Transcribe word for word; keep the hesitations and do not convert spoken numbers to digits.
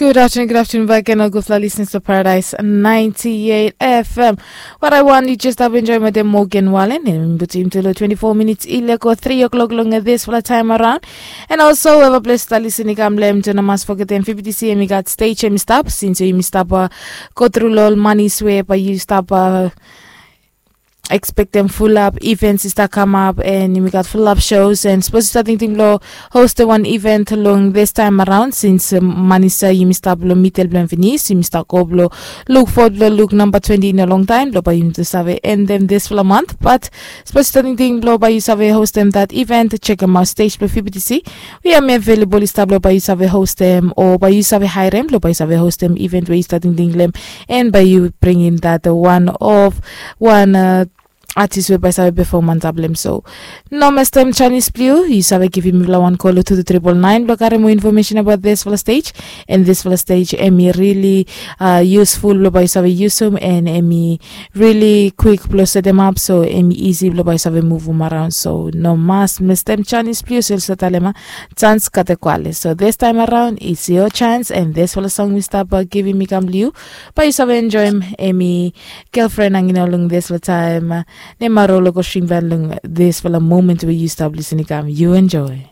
Good afternoon, good afternoon back again, all good fellow listeners to Paradise ninety-eight F M. What I want you just have enjoy with the Morgan Wallen and put him to the twenty-four minutes ileko three o'clock long this for the time around. And also have a place to listen ikam lem to namas forget them fifty C M got stage em stop since you stop uh, go through lol money swear but you stop uh, expect them full up events is that come up and we got full up shows and suppose you starting to blow host the one event along this time around since um, manisa you missed up lo mitel blan finis you missed up go blow look forward blow look number twenty in a long time blow by you to save end them this for a month but suppose you starting to blow by you save host them that event check them out stage blow fifty C we are available is blow by you save host them or by you save hire them blow by you save host them event where you starting to them and by you bringing that one of one uh, artist we by save performance ablem so no mas tem chinese blue you save giving me one call to the triple nine blow kare more information about this for the stage and this for the stage emi really uh, useful blow by save use them and emi really quick blow set them up so emi easy blow by save move them around so no mas mas tem chinese blue so talema chance kate kwale so this time around it's your chance and this for the song we stop uh, giving me come blue by save enjoy him emi girlfriend hanging out long this for time. Ne maro lo ko shim ban long this for the moment where you stop listening come you enjoy.